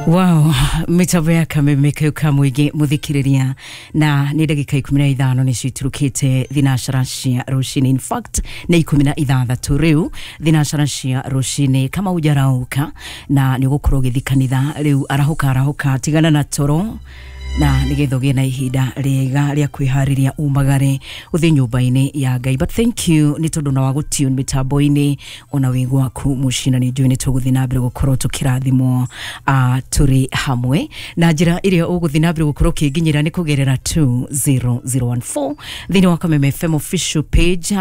Wow, mitambo ya kameme kau ka mũingĩ mũthikĩrĩria, na nĩ ndagĩka 15 nĩcio iturukĩte thinacara cia rũcinĩ. In fact nĩ 16 rĩu thinacara cia rũcinĩ. Kama ujarauka na nĩ ũgũkorwo ũgĩthiĩ kanitha rĩu, arahũka arahũka, tigana na toro na nĩgetha ũgĩe na ihinda rĩega rĩa kwĩharĩria umagare ũthiĩ nyũmba-inĩ ya Ngai. But thank you nĩ tondũ na wa gũtune mĩtambo-inĩ ona wĩ gwaku mũciĩ, na nĩ njũĩ nĩ tũgũthiĩ na mbere gũkorwo tũkĩrathimwo tũrĩ hamwe. Na njĩra ĩrĩa ũgũthiĩ na mbere gũkorwo ũkĩnginyĩra nĩ kũgerera 20014 thĩinĩ wa Kameme FM official page.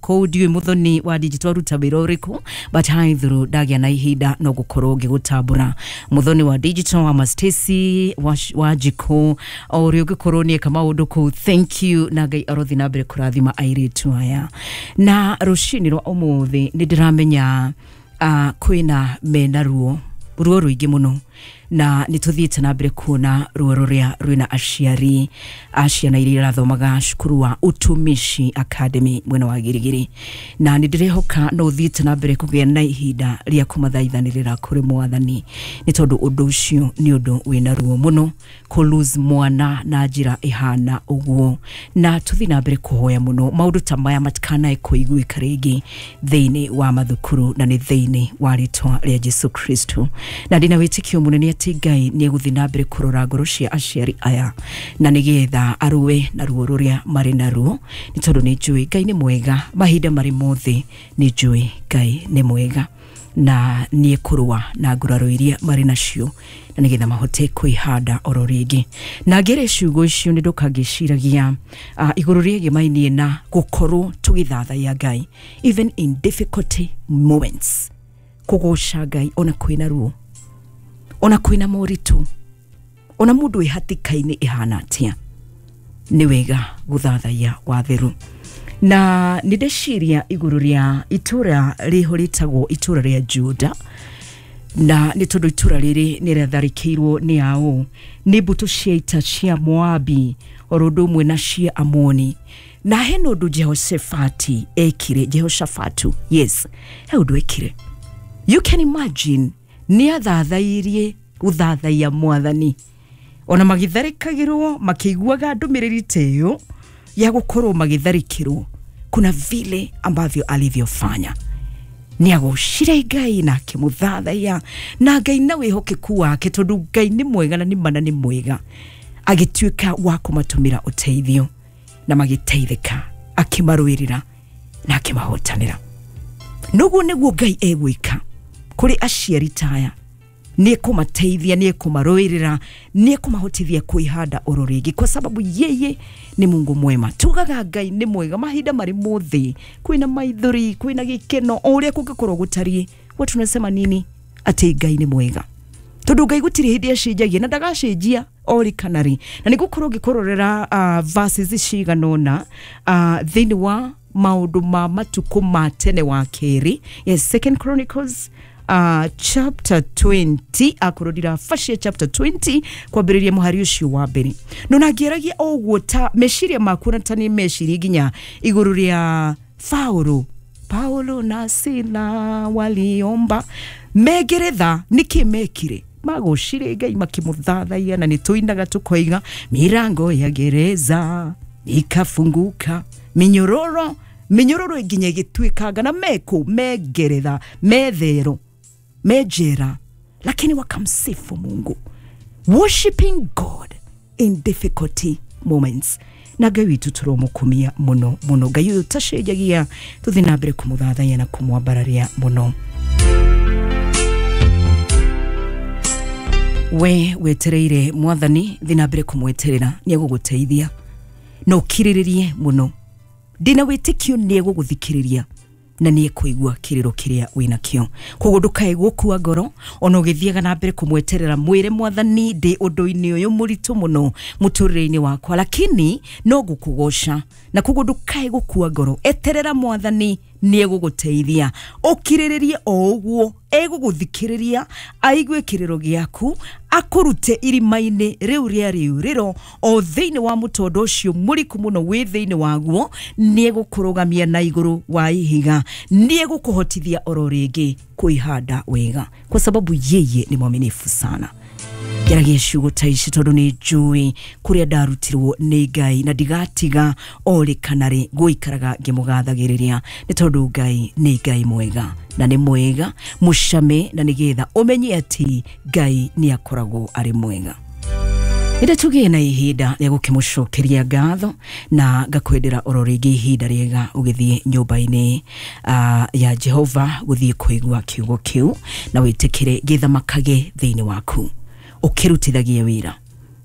Kũu ndiũĩ Mũthoni wa digital aruta wĩra ũrĩkũ, but hi through ndagĩa na ihinda no gũkorwo ngĩgũtambũra. Mũthoni wa digital wa Stacy wa Jiko, o ũrĩa ũngĩkorwo nĩ eka maũndũ kũu, thank you, na Ngai arothi na mbere kũrathima airĩtu aya. Na rũcinĩ rwa ũmũthĩ nĩ ndĩramenya kwĩna mena ruo ruo rũingĩ mũno, na nĩ tũthiĩte na mbere kuona ruo rũrĩa rwĩna aciari a ciana iria irathomaga cukuru wa Utumishi Academy mwena wa Girigiri, na nĩ ndĩrehoka no ũthiĩte na mbere kũgĩa na ihinda rĩa kũmathaithanĩrĩra kũrĩ Mwathani, nĩ tondũ ũndũ ũcio nĩ ũndũ wĩna ruo mũno kũ lose mwana na njĩra ĩhana ũguo. Na tũthiĩ na mbere kũhoya mũno maũndũ ta maya matikanae kũiguĩka rĩngĩ thĩinĩ wa mathukuru, na nĩ thĩinĩ wa rĩtwa rĩa Jesu Kristo. Na ndĩna wĩtĩkio mũnene atĩ Ngai nĩ egũthiĩ na mbere kũrora ngoro cia aciari aya na nĩgetha arũe na ruo rũrĩa marĩ naruo, nĩ tondũ nĩ njũĩ Ngai nĩ mwega mahinda marĩ mothe. Nĩ njũĩ Ngai nĩ mwega na nĩ ekũrũa na nguraro iria marĩ nacio na nĩgetha mahote kwĩhanda oro rĩngĩ. Na ngĩrĩ ciugo icio nĩ ndoka ngĩciragia igũrũ rĩegemainie na gũkorwo tũgĩthathaiya Ngai even in difficulty moments, kũgoca Ngai ona kwĩna ruo, ona kwĩna moritũ, ona mũndũ wĩ hatĩka-inĩ ĩhana atĩa, nĩ wega gũthathaiya watheru. Na nĩ ndeciria igũrũ rĩa itũra rĩho rĩtagwo itũra rĩa Juda, na nĩ tondũ itũra rĩrĩ nĩ rĩatharĩkĩirwo nĩ ao nĩ mbũtũ cia ita cia Moabi oro ũndũ ũmwe na cia Amoni. Na hena ũndũ Jehoshafati ekire, Jehoshafatu, yes, he ũndũ ekire. You can imagine, nĩ athathairie gũthathaiya Mwathani ona magĩtharĩkagĩrwo, makĩiguaga ndũmĩrĩri ta ĩyo ya gũkorwo magĩtharĩkĩrwo. Kuna vile ambavyo alivyofanya, nĩ agocire Ngai na akĩmũthathaiya, na Ngai na wĩhokeku wake, tondũ Ngai nĩ mwega na nĩ mana nĩ mwega, agĩtuĩka wa kũmatũmĩra ũteithio na magĩteithĩka, akĩmarũĩrĩra na akĩmahotanĩra. Noguo nĩguo Ngai egwĩka kũrĩ aciari taya, nĩ ekũmateithia, nĩ ekũmarũĩrĩra, nĩ ekũmahotithia kwĩhanda oro rĩngĩ, kwa sababu yeye ni Mungu mwema. Tugaga Ngai nĩ mwega mahinda marĩ mothe, kwĩna maithori, kwĩna gĩkeno, o ũrĩa kũngĩkorwo gũtariĩ, huwa tunasema nini? Atĩ Ngai nĩ mwega, tondũ Ngai gũtirĩ hĩndĩ acenjagia na ndagacenjia ori kana rĩ. Na nĩ ngũkorwo ngĩkũrorera verses cigana ũna thĩinĩ wa maũndũ ma matukũ ma tene wa kerĩ, yes, Second Chronicles chapter 20, akorwo ndirabacia chapter 20 kwambĩrĩria mũhari ũcio wa mbere. No na ngĩaragia o ũguo ta meciria maku, na ta nĩ meciria nginya igũrũ rĩa Paulo, Paulo na Sila waliomba megeretha, nĩkĩ mekire? Magocire Ngai makĩmũthathaiya, na nĩ tũinaga tũkoiga mirango ya gereza ikafunguka, minyororo minyororo nginya ĩgĩtuĩkanga, na mekũ megeretha methero mejera, lakini wakamsifu Mungu, worshiping God in difficulty moments. Na Ngai witũ tũromukumia mũno mũno, Ngai ũyũ ũtacenjagia, tũthiĩ na mbere kũmũthathaiya na kũmwambararia mũno. We wetereire Mwathani, thiĩ na mbere kũmweterera, nĩ egũgũteithia na ũkirĩrĩrie mũno. Ndĩna wĩtĩkio nĩ egũgũthikĩrĩria na nĩ ekũigua kĩrĩro kĩrĩa wĩnakĩo. Koguo ndũkae gũkua ngoro ona ũgĩthiaga na mbere kũmweterera, mwĩre Mwathani ndĩ ũndũ-inĩ ũyũ mũritũ mũno mũtũrĩre-inĩ wakwa, lakini no ngũkũgoca. Na koguo ndũkae gũkua ngoro, eterera Mwathani nĩ egũgũteithia, ũkirĩrĩrie o ũguo, egũgũthikĩrĩria, aigue kĩrĩro gĩaku, akũrute irima-inĩ rĩu rĩa rĩũrĩro o thĩinĩ wa mũtondo ũcio mũriku mũno wĩ thĩinĩ waguo. Nĩ egũkũrũgamia na igũrũ wa ihiga, nĩ egũkũhotithia oro rĩngĩ kwĩhanda wega, kwa sababu yeye ni mwaminifu sana. Njaragia ciugo ta ici tondũ nĩ njũĩ kũrĩa ndarutirwo nĩ Ngai na ndigatiga o rĩ kana rĩ gũikaraga ngĩmũgathagĩrĩria, nĩ tondũ Ngai nĩ Ngai mwega na nĩ mwega mũcame, na nĩgetha ũmenye atĩ Ngai nĩ akoragwo arĩ mwega. Nĩ tũgĩe na ihinda rĩa gũkĩmũcokeria ngatho na ngakwendera oro rĩngĩ ihinda rĩega ũgĩthiĩ nyũmba-inĩ ya Jehova gũthiĩ kũigua kiugo kĩu, na wĩtĩkĩre gĩthamakage thĩinĩ waku ũkĩrutithagie wĩra.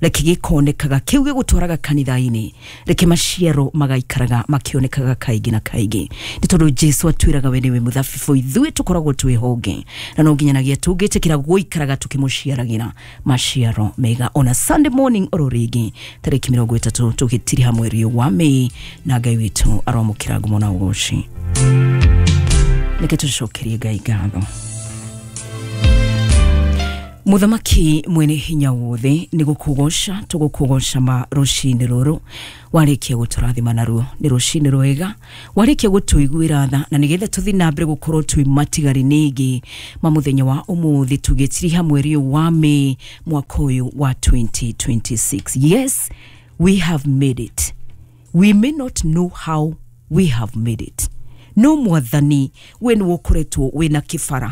Reke gĩkonekaga kĩu gĩgũtwaraga kanitha-inĩ, reke maciaro magaikaraga makĩonekaga kaingĩ na kaingĩ, nĩ tondũ Jesu atwĩraga we nĩwe mũthabibũ, ithuĩ tũkoragwo twĩ honge, na no nginyanagia tũngĩtĩkĩra gũikaraga tũkĩmũciaragĩra maciaro mega. Ona Sunday morning oro rĩngĩ tarĩki 30 tũgĩtiriha mweri ũyũ wa Mĩĩ, na Ngai witũ aromũkĩra ngumo na ũgoci. Reke tũcokerie Ngai ngatho. Mũthamaki mwene hinya wothe, nĩ gũkũgoca tũgũkũgoca ma rũcinĩ rũrũ warĩkia gũtũrathima naruo. Nĩ rũcinĩ rwega warĩkia gũtũiguĩra tha, na nĩgetha tũthiĩ na mbere gũkorwo twĩ matigari nĩngĩ ma mũthenya wa ũmũthĩ tũgĩtiriha mweri ũyũ wa Mĩĩ mwaka ũyũ wa 2026. Yes, we have made it. We may not know how we have made it, no Mwathani we nĩwe ũkoretwo wĩna kĩbara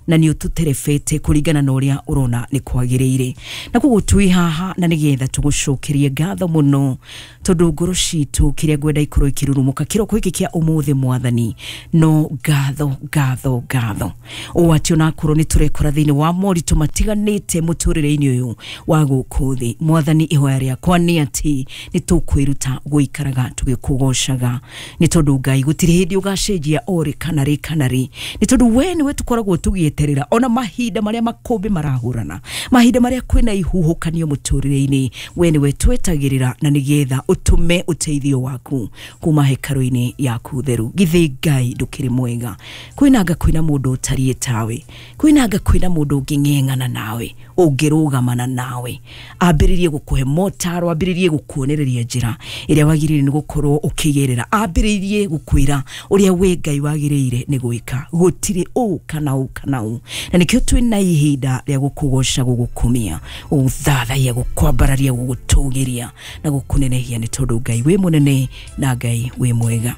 na nĩ ũtũterebete kũringana na ũrĩa ũrona nĩ kwagĩrĩire, na koguo twĩ haha na nĩgetha tũgũcokerie ngatho mũno, tondũ ngoro citũ kĩrĩa ngwenda ikorwo ikĩrurumũka kĩroko gĩkĩ kĩa ũmũthĩ, Mwathani, no ngatho, ngatho, ngatho, ũũ atĩ onakorwo nĩ tũrekora thĩinĩ wa moritũ matiganĩte mũtũrĩre-inĩ ũyũ wa gũkũ thĩ, Mwathani, ihoya rĩakwa nĩ atĩ nĩ tũkwĩruta gũikaraga tũgĩkũgocaga, nĩ tondũ Ngai gũtirĩ hĩndĩ ũgacenjia o rĩ kana rĩ kana rĩ, nĩ tondũ we nĩwe tũkoragwo tũgĩeterera ona mahinda marĩa makũmbĩ marahũrana, mahinda marĩa kwĩna ihuhũkanio mũtũrĩre-inĩ, we nĩwe twetagĩrĩra na nĩgetha ũtũme ũteithio waku kuma hekarũ-inĩ yaku theru. Githĩ Ngai ndũkĩrĩ mwega? Kwĩnanga kwĩna mũndũ ũtariĩ tawe, kwĩnanga kwĩna mũndũ ũngĩng'eng'ana nawe, ũngĩrũgamana nawe, ambĩrĩrie gũkũhe motaro, ambĩrĩrie gũkuonereria njĩra ĩrĩa wagĩrĩire nĩ gũkorwo ũkĩgerera, ambĩrĩrie gũkwĩra ũrĩa we Ngai wagĩrĩire nĩ gwĩka. Gũtirĩ ũũ kana ũũ kana ũũ, na nĩkĩo twĩna ihinda rĩa gũkũgoca, gũgũkumia, gũgũthathaiya, gũkwambararia, gũgũtũgĩria na gũkũnenehia, nĩ tondũ Ngai wĩ mũnene na Ngai wĩ mwega.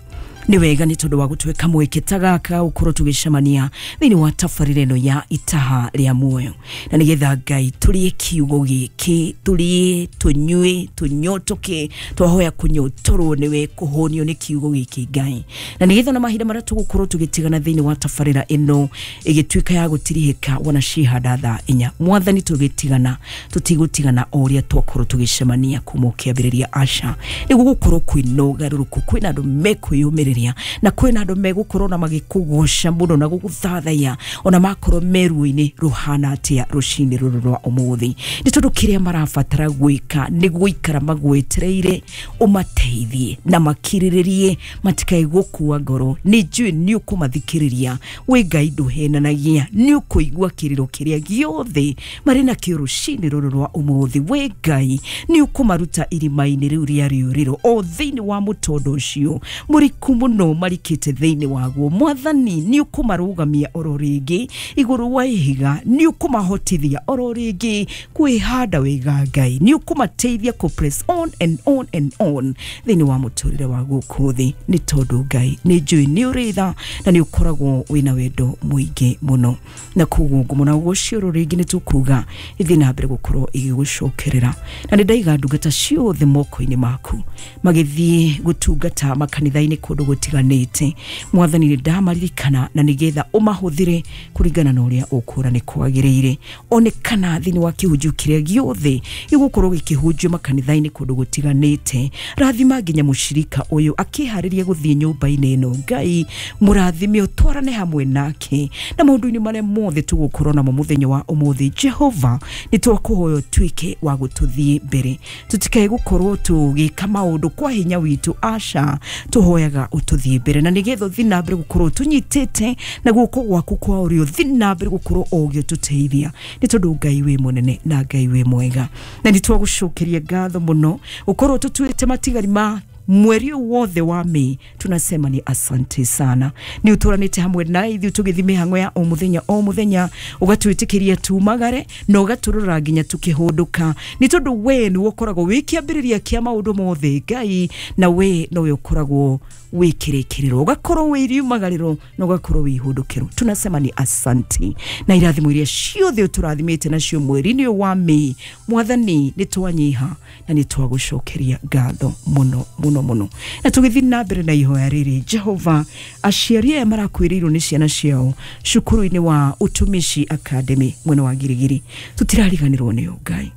Nĩ wega nĩ tondũ wa gũtuĩka mweke ta gaka gũkorwo tũgĩcemania thĩinĩ wa tabarĩra ĩno ya Itaha rĩa Muoyo, na nĩgetha Ngai tũrĩe kiugo gĩkĩ, tũrĩe, tũnyue, tũnyotoke. Twahoya kũnyotorwo nĩwe, kũhũnio nĩ kiugo gĩkĩ, Ngai, na nĩgetha ona mahinda marĩa tũgũkorwo tũgĩtigana thĩinĩ wa tabarĩra ĩno ĩgĩtuĩka ya gũtirihĩka wona cihanda thaa 4, Mwathani, tũgĩtigana tũtigũtigana o ũrĩa twakorwo tũgĩcemania kuma ũkĩambĩrĩria. Aca, nĩguo gũkorwo kwĩna ũgarũrũku, kwĩna andũ mekwĩyũmĩrĩria na kwĩna andũ megũkorwo na magĩkũgoca mũno na gũgũthathaiya ona makorwo me ruo-inĩ rũhana atĩa rũcinĩ rũrũ rwa ũmũthĩ, nĩ tondũ kĩrĩa marabatara gwĩka nĩ gũikara magwetereire ũmateithie na makirĩrĩrie, matikae gũkua ngoro. Nĩ njũĩ nĩ ũkũmathikĩrĩria. Wĩ Ngai ndũhenanagia, nĩ ũkũigua kĩrĩro kĩrĩa gĩothe marĩ nakĩo rũcinĩ rũrũ rwa ũmũthĩ. Wĩ Ngai nĩ ũkũmaruta irima-inĩ rĩu rĩa rĩũrĩro, o thĩinĩ wa mũtondo ũcio mũriku mũno marikĩte thĩinĩ waguo. Mwathani, nĩ ũkũmarũgamia oro rĩngĩ igũrũ wa ihiga, nĩ ũkũmahotithia oro rĩngĩ kwĩhanda wega. Ngai, nĩ ũkũmateithia kũ press on and on and on thĩinĩ wa mũtũrĩre wa gũkũ thĩ, nĩ tondũ Ngai nĩ njũĩ nĩ ũrĩ tha na nĩ ũkoragwo wĩna wendo mũingĩ mũno. Na koguo ngumo na ũgoci oro rĩngĩ nĩ tũkuga ithiĩ na mbere gũkorwo igĩgũcokerera, na nĩ ndaiga ndungata ciothe moko-inĩ maku magĩthiĩ gũtungata makanitha-inĩ kũndũ gũtiganĩte. Mwathani, nĩ ndamaririkana na nĩgetha ũmahũthĩre kũringana na ũrĩa ũkuona nĩ kwagĩrĩire. Onekana thĩinĩ wa kĩhunjio kĩrĩa gĩothe gĩgũkorwo gĩkĩhunjio makanitha-inĩ kũndũ gũtiganĩte. Rathima nginya mũcirika ũyũ akĩharĩria gũthiĩ nyũmba-inĩ ĩno. Ngai, mũrathime, ũtwarane hamwe nake na maũndũ-inĩ marĩa mothe tũgũkorwo namo mũthenya wa ũmũthĩ. Jehova, nĩ twakũhoya ũtuĩke wa gũtũthiĩ mbere, tũtikae gũkorwo tũgĩka maũndũ kwa hinya witũ. Aca, tũhoyaga ũtũthiĩ mbere na nĩgetha ũthiĩ na mbere gũkorwo tũnyitĩte na guoko gwaku kwa ũrĩo, ũthiĩ na mbere gũkorwo ũgĩtũteithia, nĩ tondũ Ngai wĩ mũnene na Ngai wĩ mwega. Na nĩ twagũcokeria ngatho mũno gũkorwo tũtuĩte matigari ma Mweri wothe wa Mei tunasema ni asante sana. Ni uturanite hamwe na ithuĩ tũgĩthiĩ mĩhang'o ya o mũthenya o mũthenya, ũgatwĩtĩkĩria tumagare na ũgatũrora nginya tukĩhũndũka, nĩ tondũ we nĩwe ũkoragwo wĩ kĩambĩrĩria kĩa maũndũ mothe Ngai, na we nowe ũkoragwo wĩ kĩrĩkĩrĩro, ũgakorwo wĩ riumagarĩro na ũgakorwo wĩ ihũndũkĩro. Tunasema ni asante na irathimo iria ciothe ũtũrathimĩte nacio mweri-inĩ ũyũ wa Mei. Mwathani, nĩ twanyiha na nĩ twagũcokeria ngatho mũno mũno mũno. Na tũgĩthiĩ na mbere na ihoya rĩrĩ, Jehova, aciari aya marakwĩrĩirwo nĩ ciana ciao cukuru-inĩ wa Utumishi Academy mwena wa Girigiri, tũtirariganĩrwo nĩo Ngai.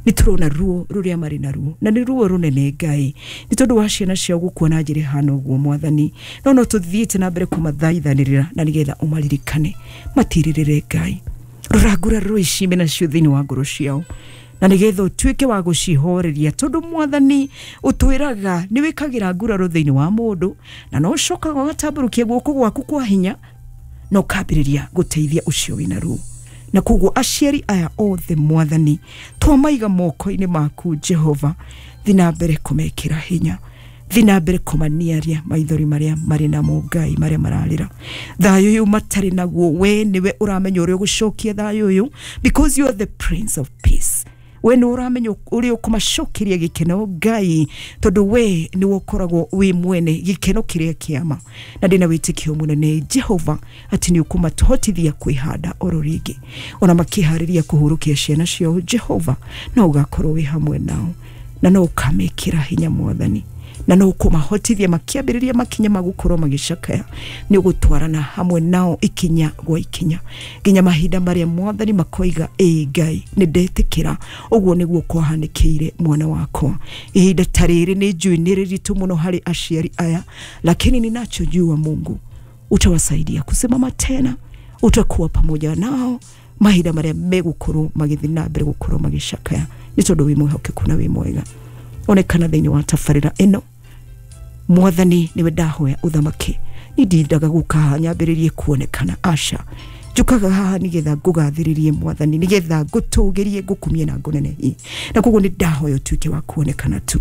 Nĩ tũrona ruo rũrĩa marĩ naruo, na nĩ ruo rũnene Ngai, nĩ tondũ wa ciana ciao gũkua na njĩra ĩhana ũguo Mwathani. No no tũthiĩte na mbere kũmathaithanĩrĩra na nĩgetha ũmaririkane, matirĩrĩre Ngai. Rora nguraro ici mena nacio thĩinĩ wa ngoro ciao, na nĩgetha ũtuĩke wa gũcihoreria, tondũ Mwathani ũtwĩraga nĩ wĩkagĩra nguraro thĩinĩ wa mũndũ, na no ũcokaga ũgatambũrũkia guoko gwaku kwa hinya na ũkambĩrĩria gũteithia ũcio wĩna ruo. Na koguo aciari aya othe Mwathani twamaiga moko-inĩ maku Jehova, thiĩ na mbere kũmekĩra hinya, thiĩ na mbere kũmaniaria maithori marĩa marĩ namo Ngai, marĩa mararĩra. Thayũ ũyũ matarĩ naguo, we nĩwe ũramenya ũrĩa ũgũcokia thayũ ũyũ, because you are the Prince of Peace. We nĩ ũramenya ũrĩa ũkũmacokeria gĩkeno Ngai, tondũ we nĩwe ũkoragwo wĩ mwene gĩkeno kĩrĩa kĩama. Na ndĩna wĩtĩkio mũnene Jehova atĩ nĩ ũkũmatũhotithia kwĩhanda oro rĩngĩ, ona makĩharĩria kũhurũkia ciana ciao Jehova, no ũgakorwo wĩ hamwe nao, na no ũkamekĩra hinya Mwathani, na no ũkũmahotithia makĩambĩrĩria makinya ma gũkorwo magĩcakaya. Nĩ ũgũtwarana hamwe nao ikinya gwa ikinya nginya mahinda marĩa Mwathani makoiga, ĩ Ngai nĩ ndetĩkĩra, ũguo nĩguo kwahanĩkĩire mwana wakwa. Ihinda ta rĩrĩ nĩ njũĩ nĩ rĩritũ mũno harĩ aciari aya, lakini ninachojua Mungu utawasaidia kusimama tena, utakuwa pamoja nao mahinda marĩa megũkorwo magĩthiĩ na mbere gũkorwo magĩcakaya, nĩ tondũ wĩ mwĩhokeku na wĩ mwega. Onekana thĩinĩ wa tabarĩra ĩno Mwathani, nĩwe ndahoya ũthamaki. Ni ndindaga gũka haha nyambĩrĩrie kuonekana, aca, njũkaga haha nĩgetha ngũgathĩrĩrie Mwathani, nĩgetha ngũtũgĩrie, ngũkumie na ngũnenehie. Na koguo nĩ ndahoya ũtuĩke wa kuonekana tu,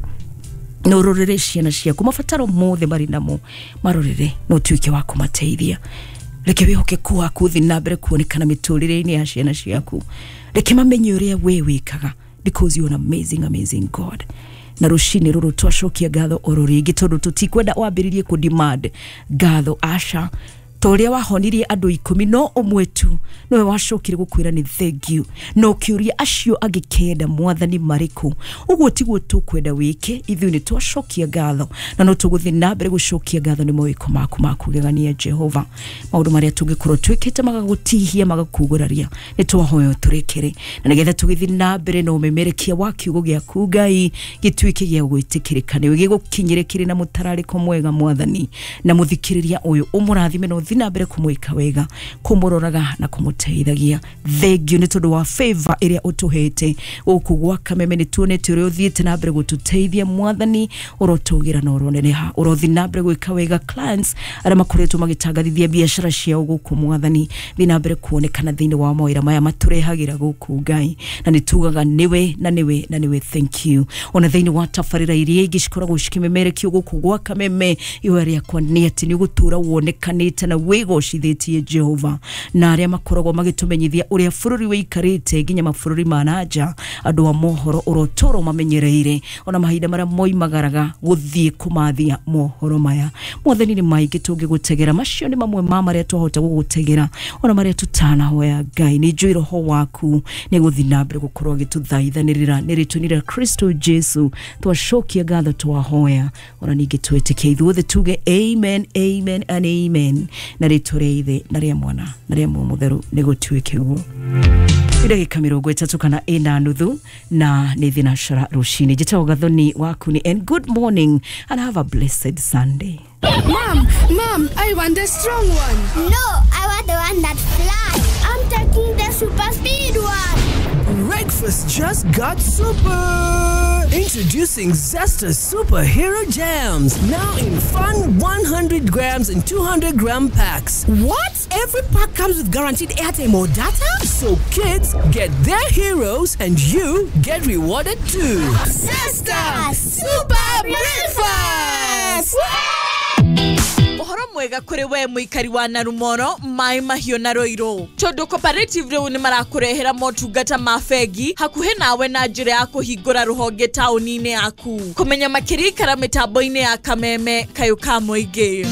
na ũrorere ciana ciaku mabataro mothe marĩ namo, marorere na ũtuĩke wa kũmateithia. Reke wĩhokeku waku ũthiĩ na mbere kuonekana mĩtũrĩre-inĩ ya ciana ciaku. Reke mamenye ũrĩa we wĩkaga, because you are an amazing, amazing God. Na rũcinĩ rũrũ twacokia ngatho oro rĩngĩ, tondũ tũtikwenda wambĩrĩrie kũ demand ngatho, aca. Ta ũrĩa wahonirie andũ 10 no ũmwe tu nowe wacokire gũkwĩra nĩ thank you, na ũkĩũria acio angĩ 9 Mwathani marĩkũ. Ũguo tiguo tũkwenda wĩke, ithuĩ nĩ twacokia ngatho, na no tũgũthiĩ na mbere gũcokia ngatho nĩ mawĩko maku ma kũgegania Jehova. Maũndũ marĩa tũngĩkorwo twĩkĩte magagũtihia, magakugũraria, nĩ twahoya ũtũrekere, na nĩgetha tũgĩthiĩ na mbere na ũmemerekia wa kiugo gĩaku Ngai gĩtuĩke gĩa gwĩtĩkĩrĩka nĩwe, gĩgũkinyĩre kĩrĩ na mũtararĩko mwega Mwathani. Na mũthikĩrĩria ũyũ ũmũrathime na ũthiĩ na mbere kũmwĩka wega, kũmũroraga na kũmũteithagia. Thank you nĩ tondũ wa favor ĩrĩa ũtũhete gũkũ gwa Kameme. Nĩ tuonete ũrĩa ũthiĩte na mbere gũtũteithia Mwathani, ũrotũgĩra na ũroneneha, ũrothiĩ na mbere gwĩka wega clients arĩa makoretwo magĩtangathithia biacara ciao gũkũ Mwathani. Thiĩ na mbere kuonekana thĩinĩ wa mawĩra maya matũrehagĩra gũkũ Ngai, na nĩ tugaga nĩwe na nĩwe na nĩwe, thank you. Ona thĩinĩ wa tabarĩra iria ingĩ cikoragwo cikĩmemerekio gũkũ gwa Kameme, ihoya rĩakwa nĩ atĩ nĩ ũgũtũra wonekanĩte na wĩgocithĩtie Jehova, na arĩa makoragwo magĩtũmenyithia ũrĩa bũrũri wĩikarĩte nginya mabũrũri ma na nja, andũ a mohoro ũrotũra mamenyereire, ona mahinda marĩa moimagaraga gũthiĩ kũmathia mohoro maya. Mwathani, nĩ maingĩ tũngĩgũtegera, macio nĩ mamwe ma marĩa twahota gũgũtegera, ona marĩa tũtanahoya Ngai. Nĩ njũĩ roho waku nĩ gũthiĩ na mbere gũkorwo agĩtũthaithanĩrĩra nĩ rĩtwa rĩa Kristo Jesu twacokia ngatho twahoya, ona ningĩ twĩtĩkie ithuothe tuge amen, amen and amen, na rĩtwa rĩa Ithe na rĩa Mwana na rĩa Muoyo Mũtheru nĩ gũtuĩke ũguo. Ndagĩka 34 na 4.5 na nĩ thinacara rũcinĩ. Njĩtagwo Gathoni waku nĩ, and good morning and have a blessed Sunday. Mom, Mom, I want the strong one. No, I want the one that flies. I'm taking the super speed one. Breakfast. Breakfast just got super! Introducing Zesta Superhero Jams, now in fun 100 grams and 200 gram packs. What? Every pack comes with guaranteed airtime or data? So kids get their heroes and you get rewarded too. Zesta Super Breakfast! Ũhoro mwega kũrĩ we mũikari wa Narumoro, Maĩ Mahiũ na Rũirũ, tondũ Cooperative rĩu nĩ marakũrehera motungata ma bengi hakuhĩ nawe na njĩra ya kũhingũra rũhonge taũni-inĩ yaku. Kũmenya makĩria, ikara mĩtambo-inĩ ya Kameme kayũ ka mũingĩ.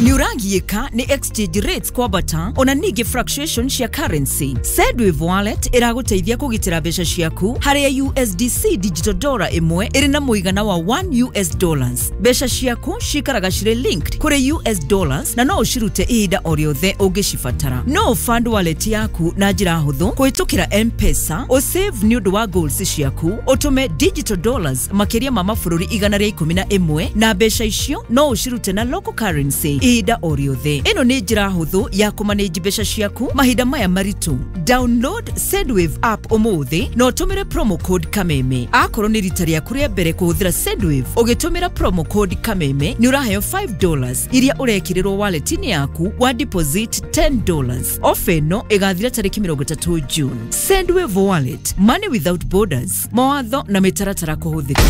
Nĩ ũragiĩka nĩ exchange rates kwambata ona ningĩ fluctuation cia currency? Sendwave Wallet ĩragũteithia kũgitĩra mbeca ciaku, harĩa USDC digital dollar ĩmwe ĩrĩ na mũigana wa 1 US dollars. Mbeca ciaku cikaraga cirĩ linked kũrĩ US dollars na no ũcirute ihinda o rĩothe ũngĩcibatara. No fund wallet yaku na njĩra hũthũ kũhĩtũkĩra M-Pesa, ũsave nĩ ũndũ wa goals ciaku, ũtũme digital dollars makĩria ma mabũrũri 111, na mbeca icio no ũcirute na local currency ihinda o rĩothe. Ĩno nĩ njĩra hũthũ ya kũmanage mbeca ciaku mahinda maya maritũ. Download Sendwave app ũmũthĩ na ũtũmĩre promo code Kameme. Akorwo nĩ rita rĩaku rĩa mbere kũhũthĩra Sendwave, ũgĩtũmĩra promo code Kameme nĩ ũraheo $5 iria ũrekĩrĩrwo wallet-inĩ yaku wa deposit $10. Ofa ĩno ĩgathira tarĩki 30 June. Sendwave Wallet, money without borders. Mawatho na mĩtaratara kũhũthĩka.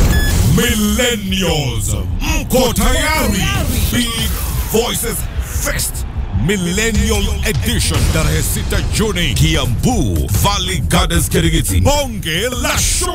Millennials, mko tayari? Big Voices Fest Millennial Edition, tarehe 6 Juni, Kiambu, Valley Gardens, Kirigiti. Bonge la show.